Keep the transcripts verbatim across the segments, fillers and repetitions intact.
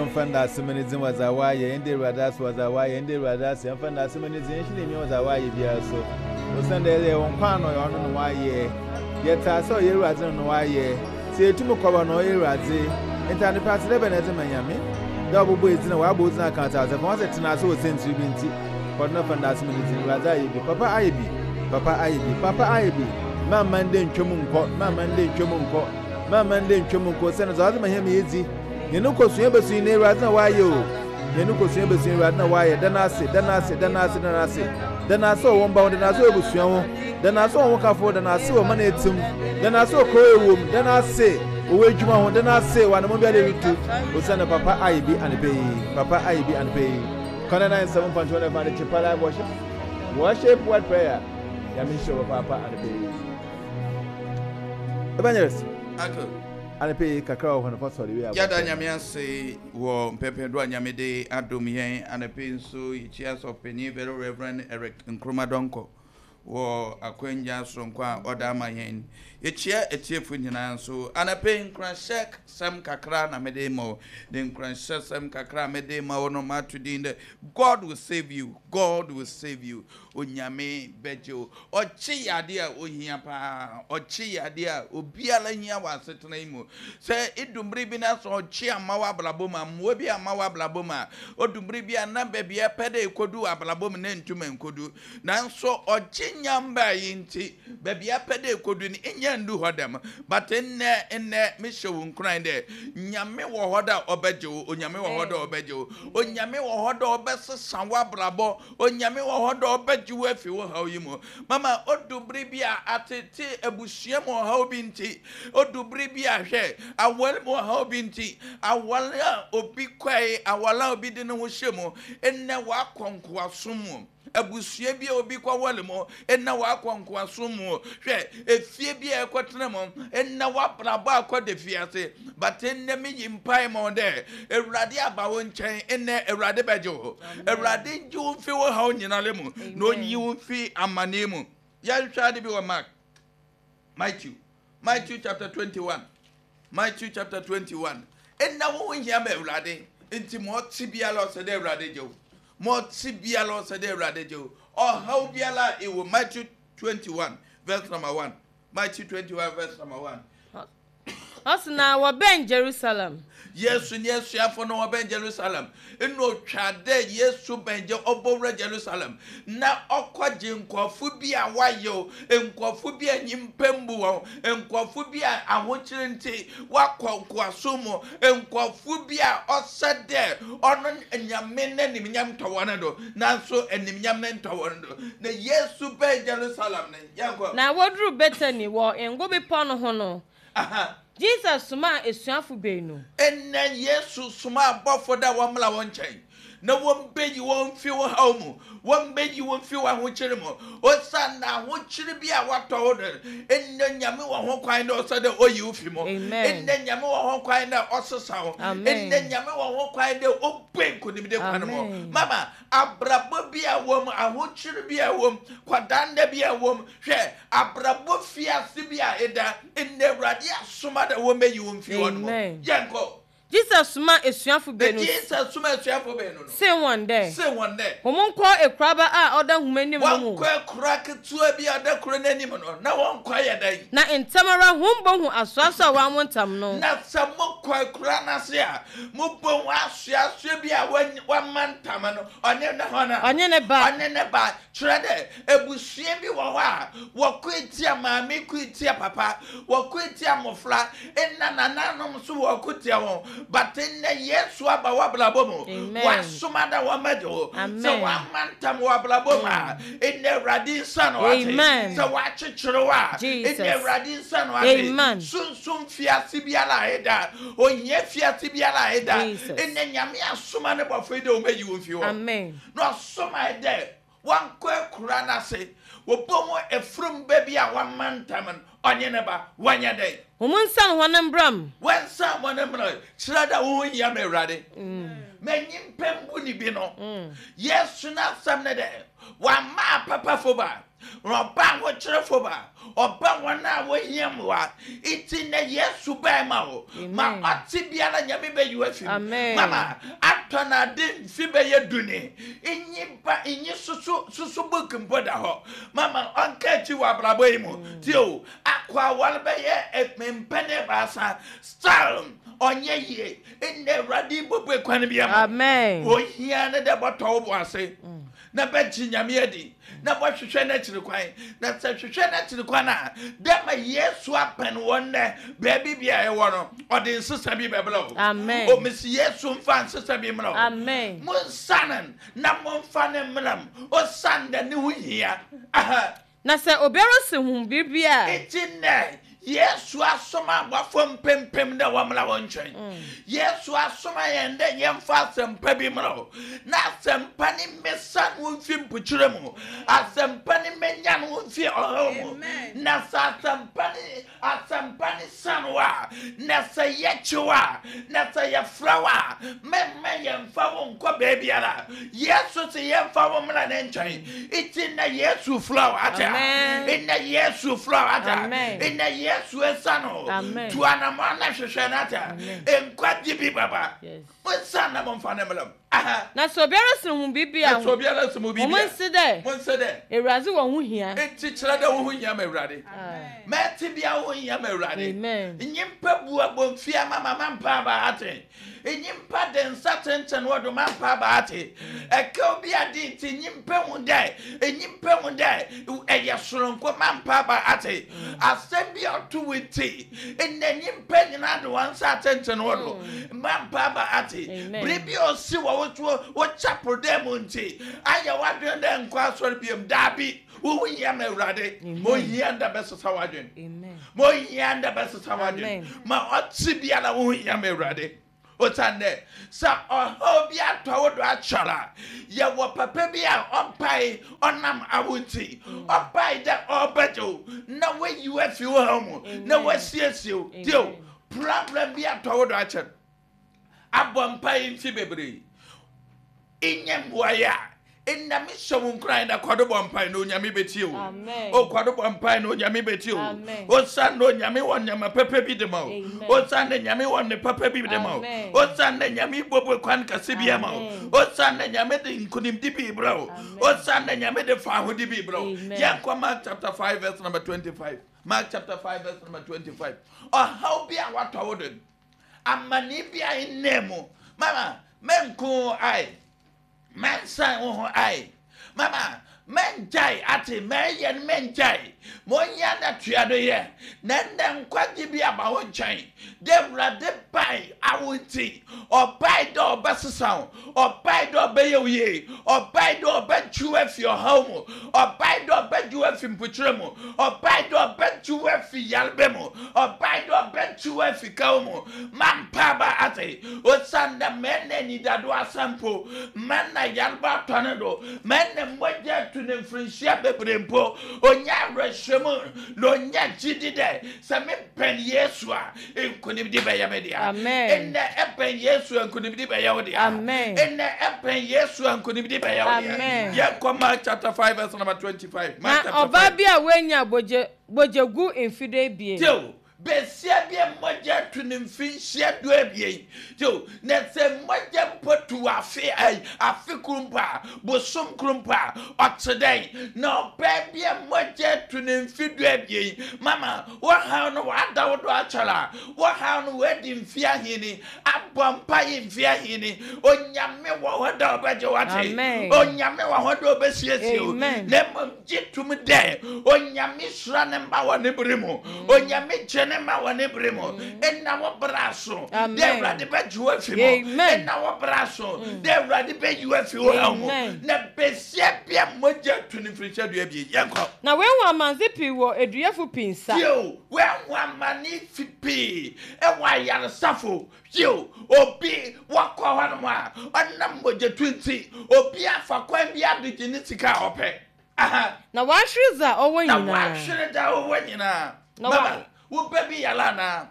Yɛmfa ndaase ma ne dzin wɔ dza ɔayɛ, yɛnda Ewuradze ase wɔ dza ɔayɛ, yɛnda Ewuradze ase, yɛmfa ndaase ma ne dzin, yɛnhyɛ no enyimnyam wɔ dza ɔayɛ biara so. Osiandɛ yɛwɔ nkwa a na ɔyɛ ɔno na ɔayɛ. Yɛtse ase a ɔyɛ Ewuradze no na ɔayɛ. Sɛ yetum kɔ ba na ɔyɛ Ewuradze. Ntsi anapa ase dɛ bɛn na edze ma Nyame? Dɛ ɔbɔbɔ edzin a ɔabɔ wo dzin akã atseasefo ho ase tsena ase wɔ siantsir bi ntsi. Kɔ do na fa ndaase ma ne dzin. Ewuradze ayɛ bi. Papa ayɛ bi. Papa ayɛ bi. Papa ayɛ bi. Mma mma ndɛ nntwa mu nnkɔ. Mma mma ndɛ nntwa mu nnkɔ. Mma mma ndɛ nntwa mu nnkɔ. Osiandɛ dza ɔadze ma hɛn ma yedzi. Hɛn nkɔsoa bɛso nyina Ewuradze na ɔayɛ o. Hɛn nkɔsoa bɛso Ewuradze na ɔayɛ. Da no ase, da no ase, da no ase, da no ase. Da no ase wɔ wo mba ho, da no ase wɔ ebusua ho, da no ase wɔ wo hokafo ho, da no ase wɔ man a etse mu, da no ase wɔ kurow a ewɔ mu, da no ase wɔ w'edwuma ho, da no ase wɔ anamɔn biara a erutu. Osiandɛ papa ayɛ bi anapa yi, papa ayɛ bi anapa yi. Kwan nine seven point one F M Adekyepa Live Worship, Worship Word Prayer. Nyame nhyira wo papaapa anapa yi. Evangelist. Uncle. Anapa yi kakra wɔ hɔ no fa sɔre wie abɔ. Yɛda Nyame ase wɔ mpɛmpɛndoɔ a Nyame de adom yɛn anapa yi nso. Yɛkyia Sɔfopanin Very Reverend Eric Nkrumah Donkor wɔ akwanya soronko a ɔda ama yɛn. Yɛkyia atiefo nyinaa nso. Anapa yi nkuranhyɛ sɛm kakra na mede ma wo. Ne nkuranhyɛ sɛm kakra a mede ma wo no, mato din dɛ "God will save you, God will save you." Onyame bɛgye wo. Ɔkye yɛ adeɛ a ohia paa. Ɔkye yɛ adeɛ a obiara hia wɔ asetena yi mu. Sɛ edumbere bi na sɛ ɔkye ama wɔ abrabɔ mu a, mmoa bi ama wɔ abrabɔ mu a, odumbere bi a na baabi a ɛpɛ dɛ ekodu wɔ abrabɔ mu na ntumi nkodu. Nanso ɔkye nyamba yi nti, baabi a ɛpɛ dɛ ekodu no, nya ndu hɔ dɛm. But nnɛ nnɛ mehyɛ wo nkuran dɛ Nyame wɔ hɔ dɛ ɔbɛgye wo. Onyame wɔ hɔ dɛ ɔbɛgye wo. Onyame wɔ hɔ dɛ ɔbɛsesa w'abrabɔ. Onyame wɔ hɔ dɛ ɔbɛgye wo afi wo haw yi mu. Mama, odu bere bi a atete abusua mu ɔhaw bi nti, odu bere bi a hwɛ aware mu ɔhaw bi nti, aware a obi kɔe, aware a obi de ne ho hyɛ mu, nnɛ wakɔ nkoasom mu. Abusua bi a obi kɔware mu, ɛnna wakɔ nkoasom mu. Hwɛ efie bi a ɛkɔtena mu, ɛnna wabrabɔ akɔ de fiase. But nnɛ meyi mpae ma wo dɛ Awurade aba wo nkyɛn. Nnɛ Awurade bɛgye wo. Awurade ngye wo mfi wo haw nyinara mu na onyi wo mfi amanneɛ mu. Yɛnhwɛ ade bi wɔ Mark, Matthew, Matthew chapter twenty-one, Matthew chapter twenty-one. Ɛnna wo ho hia ma Awurade, nti ma ɔte biara ɔsɛ dɛ Awurade gye wo. Ma ɔte biara ɔsɛ dɛ Awurade gye wo. Ɔhaw biara a ɛwɔ, Matthew twenty-one verse number one, Matthew twenty-one verse number one. Ɔse na wɔbɛn Jerusalem. Yesu ne asuafo no wɔbɛn Jerusalem. Ɛna otwa dɛ Yesu bɛn gye ɔbɔwura Jerusalem na ɔkɔgye nkɔfo bi a wayew, nkɔfo bi a nyimpa mbu wɔn, nkɔfo bi a ahokyere nti wakɔ nkoaso mu, nkɔfo bi a ɔsɛ dɛ ɔno Nyame n'animnyam tɔ wɔn do, nanso animnyam ne ntɔ wɔn do. Na Yesu bɛn Jerusalem no, yɛnkɔ. Na wɔduru Bethany wɔ Ngo Bepɔ no ho no, Aha. Jesus somaa asuafo baanu. Ɛnɛ Yesu soma abɔfo dɛ wɔmmra wɔn nkyɛn na wɔmbɛyi wɔn mfi wo haw mu, wɔmbɛyi wɔn mfi wo ahokyere mu, osiane ahokyere bi a watɔ wo do. Ɛnɛ Nyame wɔ ho kwan dɛ ɔsɛ dɛ ɔyi wo fi mu. Amen. Ɛnɛ Nyame wɔ ho kwan dɛ ɔsesa wo. Amen. Ɛnɛ Nyame wɔ ho kwan dɛ ɔbue nkonimdi kwan mu. Amen. Mama, abrabɔ bi a wɔ mu, ahokyere bi a wɔ mu, kwadanda bi a wɔ mu, hwɛ abrabɔ fiase bi a ɛda, ɛnɛ Awurade asoma dɛ wɔmbɛyi wo mfi hɔ no mu. Amen. Yɛnkɔ. Jesus somaa asuafo Na baanu Jesus soma asuafo baanu no see wɔn dɛ, se wɔn dɛ, hom nkɔ ekuraba a ɔda hom anim no mu. Wɔnkɔ akura ketewa bi a ɔda kuro n'anim no, na wɔnkɔ yɛ dɛn? Na ntɛm ara hom bohu asoaso a wɔawo ntam no. Na sɛ mokɔ akura n'ase a, mobɛhu asoasoa bi a wɔany- wɔama ntam no, ɔne ne hɔ no Ɔnye ne ba. Ɔne ne ba. Kyerɛ dɛ abusua bi wɔ hɔ a wɔkɔ etia maame, kɔ etia papa, wɔkɔ etia mmɔfra, ɛna nananom nso wɔkɔ tia wɔn. But nnɛ Yesu aba w'abrabɔ mu. Amen. Wasoma da wɔmmɛgye wo. Amen. Sɛ wɔama ntam wɔ abrabɔ mu a, ɛnɛ Awurade nsa no ate. Amen. Sɛ wɔakyekyere wo a, Jesus. ɛnɛ Awurade nsa no ate. Amen. Sunsum fiase biara a ɛda, ohia fiase biara a ɛda, Jesus. ɛnɛ Nyame asoma ne bɔfo yi dɛ wɔmɛyi wo mfi hɔ. Amen. Na ɔsoma yi dɛ Wɔnkɔ akura no ase wɔbɔ mu efurum baabi a wɔama ntam no ɔnye ne ba wɔnyɛ dɛn. Hom nsan hɔn mbram. Wɔnsan hɔn mbram kyerɛ dɛ wo ho hia ma Awurade. Ma nyimpa mbu ne bi no. Yesu n'asɛm ne dɛ wama apapafo ba ɔba ahokyerɛfo ba ɔba wɔn a wɔhia mmoa nti na Yesu bɛɛ ma wo ma ɔte biara Nyame bɛyi wo afi mu. Mama atɔ na ade mfi bɛyɛ duni nyi ba nyi susu susu book mpo da hɔ mama ɔnka akyi wɔ abrabɔ yi mu tie o akɔ awɔre bɛyɛ mpɛne baasa style ɔnyɛ yie ɛnna Awurade bɔbɔ kwan bi ama. Amen. Ohia ne dɛ bɔtɔ wo bo ase na bɛgye Nyame adi na bɔhwehwɛ n'akyiri kwan na sɛ hwehwɛ n'akyiri kwan a dɛ ma Yesu apɛn wɔn nɛ baabi bi a ɛwɔ no ɔde nsesa bi bɛbrɛ wo. Amen. Omisi Yesu mfa nsesa bi mmerɛ wo. Amen. Monsanen na momfa ne mmerɛ m ɔsan dɛ ne ho hia. Aha. Na sɛ obiara si hom biribi a. Enti nnɛ Yesu asoma abɔfo mpempem dɛ wɔmmra wɔn nkyɛn. Yesu asoma yɛn dɛ yɛmfa asɛmpa bi mmerɛ wo na asɛmpa ne mmesa no mfi mpokyerɛ mu asɛmpa ne mmenya no mfi ɔhaw mu na sɛ asɛmpa ne asɛmpa ne san wo a na sɛ yɛkyew a na sɛ yɛfrɛ wo a mɛmma yɛmfa wo nkɔ baabiara. Yesu sɛ yɛmfa wo mmra ne nkyɛn nti na Yesu frɛ wo ate a ɛnɛ Yesu frɛ wo ate a ɛnɛ Yesu esa no Amen. Tu anamɔ na hwehwɛ no ate a nkwagye bi baba monsan na momfa ne mmra mu. Aha. Na sɛ obiara si hom biribi a na sɛ obiara si mo biribi hom a nse dɛ monse dɛ Awurade wɔ ho hia. Enti kyerɛ dɛ wo ho hia ma Awurade. Mɛte bia wo ho hia ma Awurade. Amen. Nyimpa bu abɔmfia ma ma mampa aba ate. Nyimpa de nsa tenten wɔ do mampa aba ate. Ɛka obi ade nti nyimpa hu dɛ nyimpa hu dɛ ɛyɛ soronko mampa aba ate. Asɛm bi a ɔto wo nti ɛnɛ nyimpa nyinaa de wɔn nsa tenten wɔ do mampa aba ate. Amen. Biribi a ɔsi wɔ wo so wo chapel dɛ mu nti ayɛ w'adwene dɛ nkɔ asɔre biom daabi wo ho hia ma Awurade. Ma ohia nda bɛsesa w'adwene. Amen. Ma ohia nda bɛsesa w'adwene. Amen. Ma ɔte biara wo ho hia ma Awurade. Osiane dɛ sɛ ɔhaw bi atɔ wo do akyɛr a yɛwɔ papa bi a ɔbae ɔnam awo nti ɔbae dɛ ɔrebɛgye wo na wayi wo afi wo haw mu na Amen. wasiesie wo. Tie o, problem bi atɔ wo do akyɛr abɔ mpae mfi bebree nyɛ mmoaeɛ a ɛnna mehyɛ wo nkuran na kɔdo bɔ mpae na Onyame bɛtie wo. Amen. O kɔdo bɔ mpae na Onyame bɛtie wo. Amen. Osiane na Onyame wɔ nneɛma pɛpɛ bi de ma wo. Amen. Osiane na Nyame wɔ ne papa bi de ma wo. Amen. Osiane na Nyame bɔbɔ kwan kɛse bi ama wo. Amen. Osiane na Nyame de nkonimdi bi brɛ wo. Amen. Osiane na Nyame de faahodi bi brɛ wo. Amen. Yɛnkɔ Mark chapter five verse number twenty-five. Mark chapter five verse number twenty-five. Ɔhaw bi a watɔ wo do amane bi a ɛnnɛ mu mama mɛnko ae mɛnsan wo ho ae mama mɛngyae ate mɛyɛ no mɛngyae ma ɔnyɛ na tua do yɛ na nnɛ nkwagye bi aba wo nkyɛn dɛ Awurade bae awo nti ɔbae dɛ ɔbɛsesa wo ɔbae dɛ ɔbɛyɛ wo yie ɔbae dɛ ɔbɛgye wo afi ɔhaw mu ɔbae dɛ ɔbɛgye wo afi mpokyerɛ mu ɔbae dɛ ɔbɛgye wo afi yarebe mu ɔbae dɛ ɔbɛgye wo afi kaw mu mampa aba ate osiane dɛ mɛnna anidado asampo mɛnna yareba atɔ ne do mɛnna mogya atu ne mfirinhyia bebree mpo onya awerɛhyɛmu na onya gyidi dɛ sɛ mebɛn Yesu a nkonimdi bɛyɛ me dea. Amen. Ɛnnɛ ɛbɛn Yesu a nkonimdi bɛyɛ wo dea. Amen. Ɛnnɛ ɛbɛn Yesu a nkonimdi bɛyɛ wo dea. Amen. Yɛnkɔ Mark chapter five verse number twenty-five. Na Mark chapter ɔbaa five. bi a wanya bogye bogyegu mfe du ebien. Tew besia bi a mogya tu ne mfinhyia du ebien. Tew na sɛ mogya mpo tu afe ayi afe koro mpo a bosom koro mpo a ɔte dɛn na ɔbaa bi a mogya tu ne mfe du ebien mama wɔhaw no wɔada wo do akyɛr a wɔhaw no wɔadi mfe ahene abɔ mpae mfe ahene Onyame wɔ hɔ dɛ ɔbɛgye wate. Amen. Onyame wɔ hɔ dɛ ɔbɛsiesie wo. Amen. Na mmom gye tom dɛ Onyame hyira ne mma wɔ ne bere mu. Onyame gye ne ma wɔ ne bere mu ɛna wɔ bra so de Awurade bɛgye wo afi mu ɛna wɔ bra so de Awurade bɛyi wo afi wo haw mu na besia bia mogya tu ne mfirihyia du abien yɛnkɔ. Na wehu amanze pii wɔ eduyɛfo pii nsa. Yo, wehu amane fi pii ɛwɔ ayaresafo. Yo, obi wakɔ hɔ nom a ɔnam mogya tu nti obi afa kwan bi adegye ne sika a ɔpɛ. Aha. Na wahwere dza ɔwɔ Na nyinaa. wahwere da ɔwɔ nyinaa. Na Mama, wa- wo ba bi yare anaa?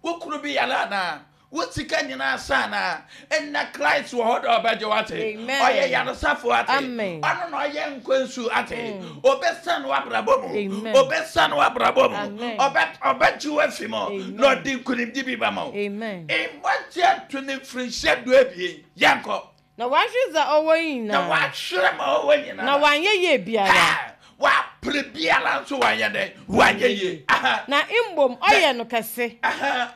Wo kunu bi yare anaa? Wo sika nyinaa sa anaa? Ɛnna Christ wɔ hɔ dɛ ɔbɛgye wo ate. Amen. Ɔyɛ yaresafo ate. Amen. Ɔno na ɔyɛ nkwansu ate. Ɔbɛsan w'abrabɔ mu. Amen. Ɔbɛsan w'abrabɔ mu. Amen. Ɔbɛ ɔbɛgye wo afi mu. Amen. Na ɔde nkonimdi bi ba ma wo. Amen. Mmɔgye to ne mfirinhyia du abien. Yɛnkɔ. Na wahwere dza ɔwɔ Na nyinaa. wahwere ma ɔwɔ nyinaa. Na wanyɛ yie biara. Ha! Wapere biara nso wanyɛ dɛ. Wanyɛ yie. Aha. Na mbom ɔyɛ no kɛse. Aha.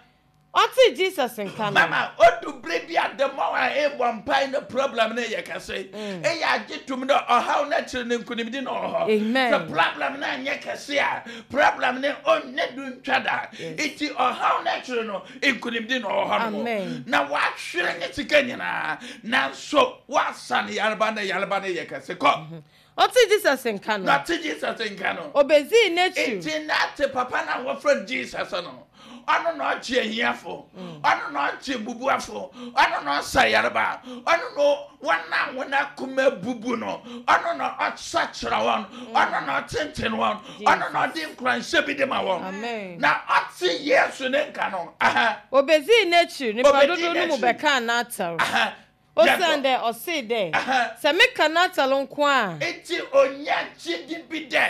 Ɔte Jesus nka no. Mama, odu bere bi a the more a ebɔ mpae ne problem ne yɛ kɛse. Ɛyɛ agye tum dɛ ɔhaw n'akyiri ne nkonimdi na ɔwɔ hɔ. Amen. Sɛ problem no anyɛ kɛse a, problem ne ɔnyɛ du ntwa da. Eti ɔhaw n'akyiri no, nkonimdi na ɔwɔ hɔ no. Amen. Na wahwere ne sika nyinaa, nanso wasa ne yareba ne yareba ne yɛ kɛse kɔ. Ɔte Jesus nka no. Na te Jesus nka no. Obedzii n'ekyir. Eti na te papa na wɔfrɛ Jesus no. Ɔno na ɔkye ahiafo, ɔno na ɔkye bubuafo, ɔno na ɔsa yareba, ɔno na wɔn a wɔn akoma bubu no, ɔno na ɔsakyera wɔn, ɔno na ɔtenten wɔn, ɔno na ɔde nkuranhyɛ bi de ma wɔn. Amen. Na ɔte Yesu ne nka no. Aha, Obedzii n'ekyir nipa Obedzii dodow no mu n'ekyir. bɛkaa n'atar. aha. Osiane dɛ ɔsee dɛ, Aha. sɛ meka n'atar nko a, Eti onya gyidi bi dɛ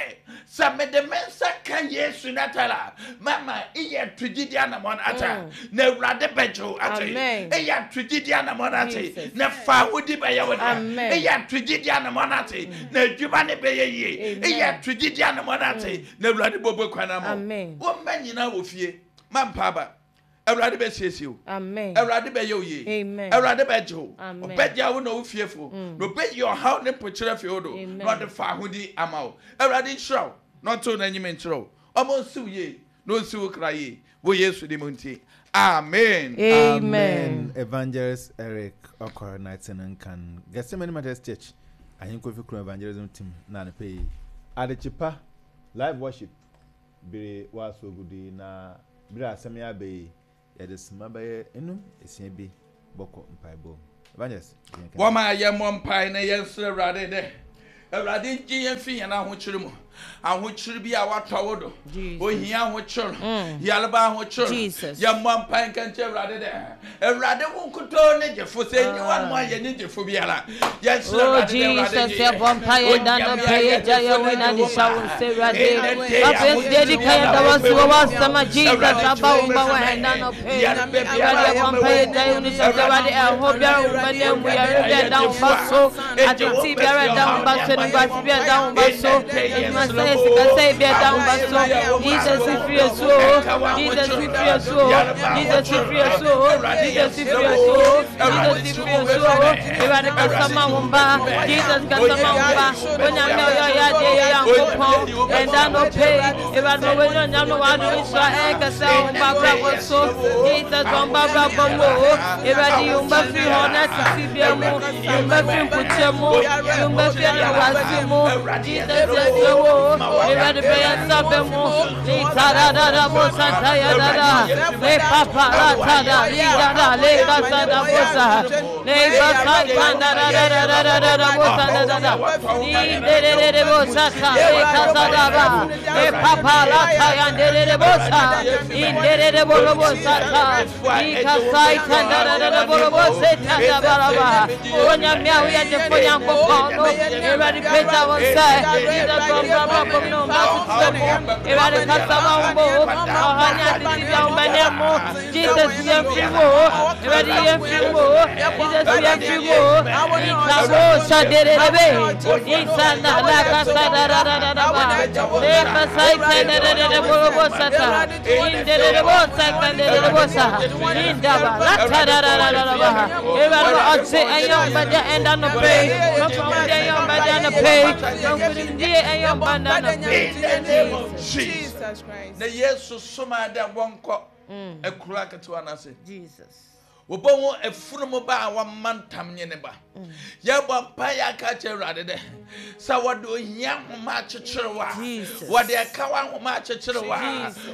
sɛ mede me nsa ka Yesu n'atar a, mama iyɛ to gyidi anamɔn ata na Awurade bɛgye wo ate. Amen. Eyɛ to gyidi anamɔn ate Jesus. na fa ahodi bɛyɛ wo dea. Amen. Eyɛ to gyidi anamɔn ate na adwuma ne bɛyɛ yie. Amen. Eyɛ to gyidi anamɔn ate na Awurade bɔbɔ kwan ama wo. Amen. Wo mma nyinaa wɔ fie mampa aba. Awurade bɛsiesie wo. Amen. Awurade bɛyɛ wo yie. Amen. Awurade bɛgye wo. Amen. Ɔbɛgye wo na wo fiefo. Na ɔbɛyi ɔhaw ne mpokyerɛ fi wo do. Amen. Na ɔde fa ahodi ama wo. Awurade nhyira wo. Na ɔntew n'anim nkyerɛ wo. Ɔma ɔnsi wo yie. Na ɔnsi wo kra yie. Wɔ Yesu din mu nti. Amen. Amen. Evangelist Eric Okor Nighton Nkan. Gethsemane Methodist Church. Ahenkofi Kuro Evangelism Team na ne pay. Adechipa live worship. Bere waso gudi na bere asɛm ya be yɛde sima bɛyɛ enum esia bi bɔkɔ mpaebɔ. Evangelist. yɛn ka. Wɔma yɛmmɔ mpae na yɛnsrɛ Awurade dɛ Awurade ngye yɛn fi yɛn ahokyere mu. Ahokyere bi a watɔ wo do. Jesus. Ohia ahokyere. Yareba ahokyere. Jesus. Yɛmmɔ mpae nka nkyerɛ Awurade dɛ Awurade wo nkutoo ne gyefo sɛ enyi wa no a yɛne gyefo biara. Yɛnsrɛ Oh Awurade dɛ Awurade Jesus, gye yɛn. yɛbɔ mpaeɛ da no pɛ yɛgya yɛn wo na de hyɛ wo nsa Awurade. Papa Yesu deɛ di kan yɛda wo ase wɔ w'asɛm a Jesus aba wo mma wɔ ɛda no pɛ. Awurade yɛbɔ mpaeɛ gya yɛn wo ne hyɛ wo nsa Awurade ɛho biara wo mma na mu yɛre bi a ɛda wo mma so atete biara ɛda wo mma so animguase bi a ɛda wo mma so adwumasɛe sikasɛe bi a ɛda wo mma so Jesus firi esu o Jesus firi esu o Jesus firi esu o Jesus firi esu o Jesus firi esu o Awurade kasa ma wo mma Jesus kasa ma wo mma Onyame ɔyɛ ɔyɛ adeɛ yɛ Nyankopɔn ɛnda no pɛ Awurade ma w'ani onyam no w'adom nhyira ɛnkasa wo mma abrabɔ so Jesus wɔn mma abrabɔ mu o Awurade yi wo mma firi hɔ na tete bia mu yi wo mma firi nkukyɛ mu yi wo mma firi animguase mu Jesus yɛsrɛ wo o Awurade bɛyɛ nsa bɛ mu Itarada bo santa ya dada le papa la tada li dada le kasa da bosa le basa kanda da da da da da da da bosa da da da ni de de de de bosa ta le kasa da ba le papa la ta ya de de de bosa in de de de bo bosa ta ni kasa kanda da da da bo bosa ta da ba la ba onya mia wo ye de fo nyankopɔn no Awurade pagya wo nsa Jesus bɔ bɔ bɔ bɔ no ma tete mu Awurade kasa ma wo mo ɔha ne atete bia wo bɛnɛ mu Jesus yɛn firi mu o Awurade yɛn firi mu o Jesus Jesus yɛfiri mu ikabo saderebe isana la kasa da da da da ba le pasai da da da da borobo sata indere bo sa kandere bo sa indaba la ta da da da da ba Ewurade ɔte ɛyɛ ɔbɛda ɛnda no pɛ mɔfɔ ɛyɛ ɔbɛda no pɛ mɔfɔ ɛyɛ ɔbɛda no pɛ. In the name of Jesus Christ. Na Yesu soma da wɔnkɔ ekura ketewa na se. Jesus. Wɔbɛwo efunumu ba a wɔma ntam nye ne ba. Yɛbɔ mpa yɛ aka kyerɛ Awurade dɛ sɛ wɔde ohia ahoma akyekyere wa, wɔde ɛkawa ahoma akyekyere wa,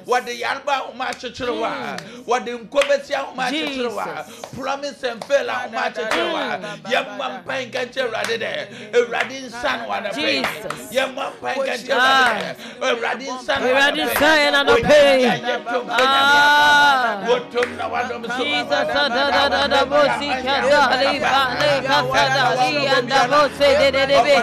wɔde yareba ahoma akyekyere wa, wɔde nkobesi ahoma akyekyere wa, promise and fail ahoma akyekyere wa. Yɛbɔ mpa nka kyerɛ Awurade dɛ Awurade nsa no wada pɛ. Yɛbɔ mpa nka kyerɛ Awurade dɛ Awurade nsa no wada pɛ. Awurade nsa yɛ na no pɛ. Wɔtom na wadom so. Jesus da da da da bo si ka da li ba le ka sa da li and da bo se de de de be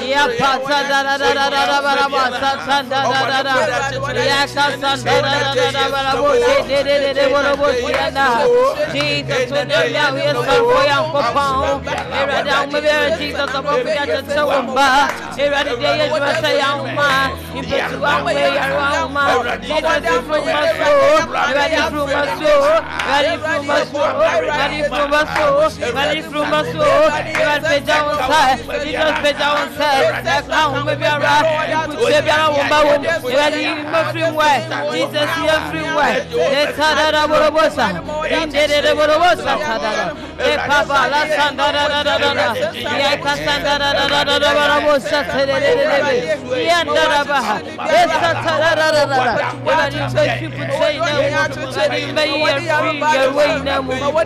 ya pa sa da da da da da ba ra ba sa sa da da da da ya ka sa da da da da da ba ra bo se de de de de bo ro bo si and da Jesus to ne ya we sa bo ya ko pa o era da um be Jesus abo fi ya tse wo ba era de ye jwa sa ya um ma ipetu wa we ya wa um ma Jesus from my soul era de from my soul era de from my soul Ready from my soul, ready from my soul. Jesus peja on side, Jesus peja on side. That's how we be around. Put the biara on ba wo. Ready my free way. Jesus your free way. Le tada borobosa. Inde de borobosa tada. E papa la sanda da da da da. Ya ka sanda da da da da borobosa tere de de de. Ya da ba. Esa tada da da da. Ready to put say na. Ready be your free your way na mu. Oh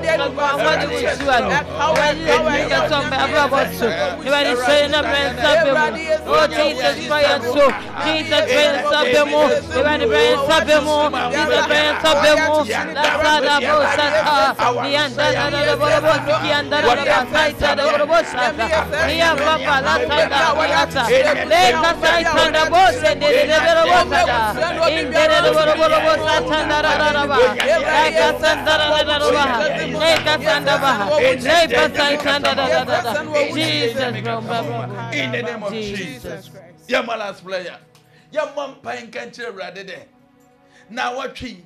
Jesus Christ, so Jesus Christ, Sabemo, Sabemo, Jesus Christ, Sabemo, Lasada Bosata, the Andana Boroboski and the Saita, the Borobosata, the Papa, Lasada, Leka Saita, the Bos and the Borobosata, in the Borobosata, Leka Santa. Jesus, in the name of Jesus. Your last player. Your mom pine country rather there. Now what tree?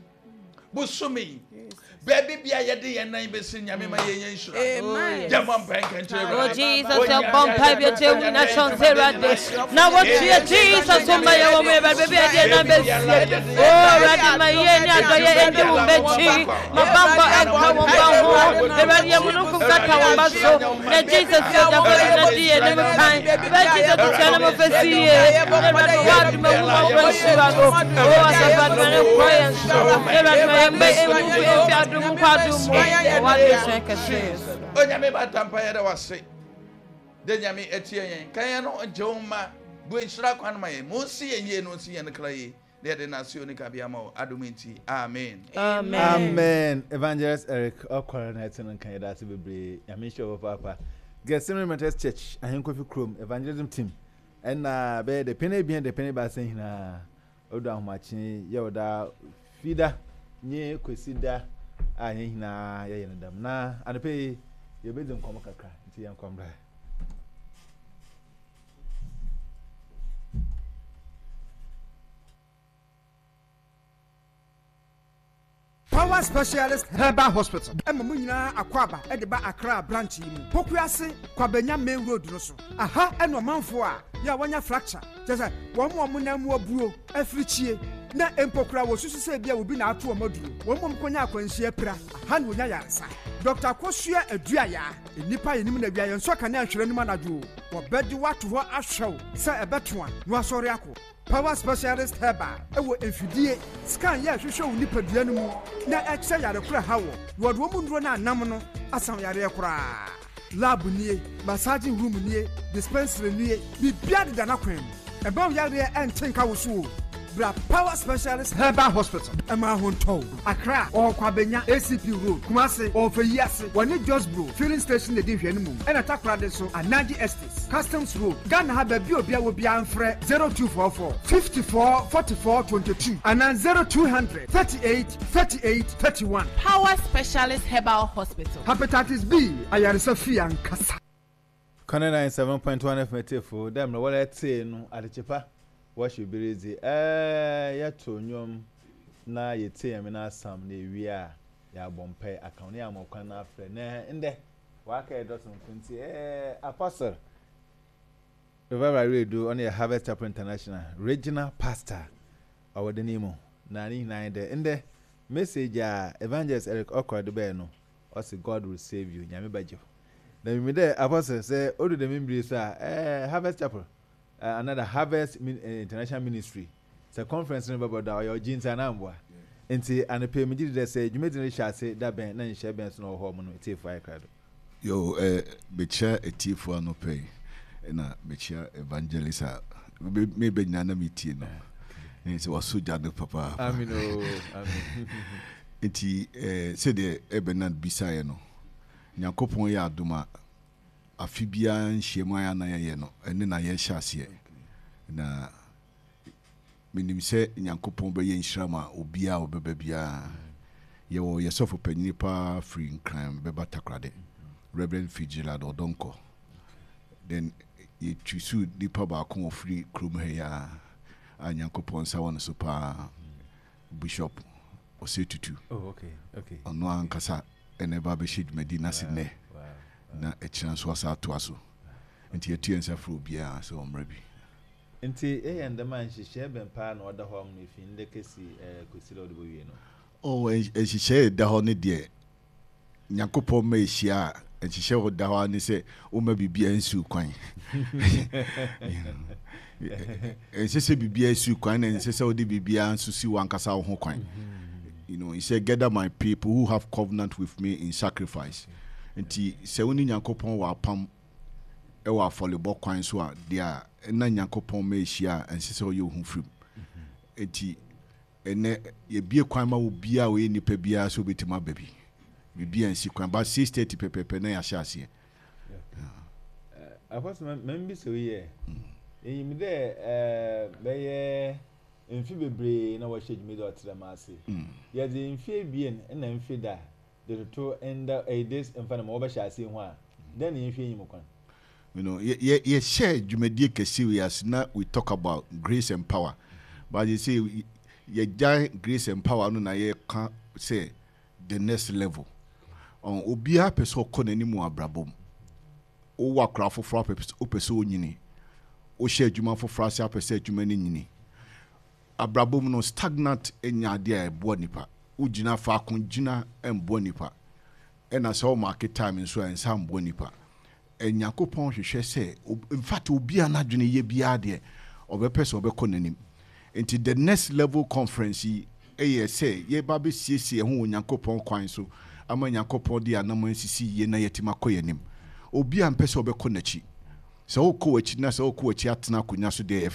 Busumi. Baby, be a yadi and nine besin yamima. Amen. Your mom pine country. Oh Jesus, your bomb pipe your children now what Jesus, oh my baby, I did not oh, Radima, my bamba and the Radiamunuku Katawabaso, and Jesus, Onyame batampa yɛda wase de nyame etie yɛn kan yɛn no joma bu nhyira kwan ma yɛn mo nsi yɛn yie no nsi yɛn kra yie de yɛde nase oni ka bia ma o adom nti amen. Amen. Amen. Evangelist Eric Okwara na ɛte no nkan yɛda ase bebree nyame nhyira wo papa. Gethsemane Methodist Church Ahenkofi Krom Evangelism Team ɛna bɛyɛ de pene bien de pene ba sɛ hina odu ahomakye yɛ oda fida nye kwesida a yɛn hina yɛ yɛn dam na anɔpɛ yɛbɛdi nkɔmmɔ kakra nti yɛn nkɔmmra. Power Specialist Herbal Hospital. Emma Munina Akwaba at the Ba Accra branch. Pokuase, Kwabenya Main Road no so. Aha, and one man for ya wanya fracture. Just one more munamu buo, every chie. Na empokra wo susu se bia obi na ato omaduro. Wo mom konya akwanhia pra. Aha na onya yaresa. Doctor Kosua Aduaya, enipa yenim na bia yenso ka na ahwere num anadwo. Wo bedi wato ho ahwew se ebeto a no asori akọ. Power Specialist Herbal ewo enfidie scan ye hwehwe wo nipadua no mu na ekyerɛ yare kora ha wo. Wo de wo mu nduro na anam no asan yare kora. Lab nie, massaging room nie, dispensary nie, bibia deda na kwan mu. Eba wo yare enten ka wo so. Bra Power Specialist Herbal Hospital ɛma ahontɔw. Accra, ɔwɔ Kwabenya A C P Road. Kumase, ɔwɔ Feyiase, wɔne Josbro Filling Station na edi nhwɛne mu. Ɛna Takoradi nso, Anaji Estates, Customs Road. Ghana ha, baabi a obiara wɔ biara, mfrɛ zero two four four fifty-four forty-four twenty-two anaa zero two hundred thirty-eight thirty-eight thirty-one. Power Specialist Herbal Hospital. Hepatitis B ayaresa fie ankasa. Kane ninety-seven point one F M tiefo, dɛ mmerɛ wɔlɛ tee no adekyepa wɔhyɛ bere dzi ɛɛ yɛto nnwom na yɛtie Nyame no asam na ewie a, yɛabɔ mpae aka ho na yɛama kwan no afrɛ. Na ndɛ waka yɛ dɔso nko nti ɛɛ Apostle Revival Redu, ɔno yɛ Harvest Chapel International regional pastor ɔwɔ de ne mu, na ne nyinaa yɛ dɛ ndɛ message a Evangelist Eric Okɔ de bɛɛ no, ɔsi "God will save you", Nyame bɛgye wo. Na mimi dɛ Apostle sɛ odu dɛm mbiri so a, ɛɛ Harvest Chapel uh, another Harvest Min uh, International Ministry sɛ conference no bɛbɔ da, ɔyɛ ɔgye nti anamboa nti anɔpɛ mi gyi di dɛ sɛ dwumadzi no hyɛ ase da bɛn na nhyɛ bɛn so na ɔwɔ hɔ ɔmo no etiefo ayɛ krado. Yo, eh, mekyia etiefoɔ anɔpɛ yi, ɛna mekyia Evangelist a mebɛ nyinaa na metie no ne sɛ waso gya no papaapa. Amen o, amen. Nti eh, sɛdeɛ ɛbɛnad bisaeɛ no, Nyankopɔn yɛ adom a, afe biara nhyiamu a yɛana yɛyɛ no, ɛne na yɛhyɛ aseɛ, na menim sɛ Nyankopɔn bɛyɛ nhyira ma obiaa a ɔbɛba biara. Yɛwɔ yɛsɔfo panyini paa firi Nkran bɛba Takorade, Reverend Fitzgerald Ɔdɔnkɔ. Then yɛtwisu nipa baako wɔ firi kurom ha yi a a Nyankopɔn nsa wɔ no so paa, Bishop Ɔsɛ Tutu. Oh, okay okay Ɔno ankasa ɛna ɛba bɛhyɛ dwumadi no ase nnɛ na ɛkyerɛ nso asa atoa so, nti yɛtu yɛn nsa frɛ obiara sɛ ɔmmra bi. Nti ɛyɛ ndɛm a nhyehyɛ bɛn paa na ɔda hɔ am no efi ndɛ kesi ɛɛ kosi dɛ ɔde bɔ wie no? Oh, nhyehyɛ ɛda hɔ no deɛ, Nyankopɔn ma ɛhyia a, nhyehyɛ hɔ da hɔ a ne sɛ woma biribiara nsiw kwan. Ɛnsɛ sɛ biribiara siw kwan, na ɛnsɛ sɛ wode biribiara nso si w'ankasa wo ho kwan. you know he said, "Gather my people who have covenant with me in sacrifice." Nti sɛ wo ne Nyankopɔn wɔ apam ɛwɔ afɔrebɔ kwan so a, deɛ a ɛna Nyankopɔn ma ɛhyia a, ɛnsɛ sɛ ɔyɛ wo ho firim. Nti ɛnɛ yɛbie kwan ma wo biara a ɔyɛ nipa biara sɛ wobɛtumi aba bi, biribi ansi kwan, but six thirty pɛpɛpɛ na yɛahyɛ aseɛ. Apostle, mɛm bi sɛ oyɛ enyim dɛ ɛɛ bɛyɛ mfe bebree na wɔhyɛ dwumadi a ɔte dɛm ase. Yɛdze mfe ebien na mfe da de toto nda ɛyi de mfa na ma wɔbɛhyɛ ase ho a, dɛn na yɛnhwɛ enyim kwan? you know yɛ yɛhyɛ dwumadie kɛse wei ase na we talk about grace and power, but you say yɛgya grace and power no na yɛka sɛ the next level. Ɔn obiara pɛ sɛ ɔkɔ n'anim wɔ abrabɔ mu. Wowɔ akora foforɔ apɛ, wopɛ sɛ onyini. Wohyɛ adwuma foforɔ ase, apɛ sɛ adwuma no nyini. Abrabɔ mu no, stagnant nya adeɛ a ɛboa nipa. Wogyina faako gyina mboa nipa, ɛna sɛ wɔmaake time nso a, ɛnsa mboa nipa. Nyankopɔn hwehwɛ sɛ, in fact, obiara n'adwene yɛ biara deɛ ɔbɛpɛ sɛ ɔbɛkɔ n'anim. Nti the next level conference yi ɛyɛ sɛ yɛba bɛsiesie ɛho wɔ Nyankopɔn kwan so ama Nyankopɔn de anam nsisi yie na yɛtumi akɔ yɛn anim. Obiara mpɛ sɛ ɔbɛkɔ n'akyi. Sɛ wokɔ w'akyi na sɛ wokɔ w'akyi atena akonnwa so deɛ.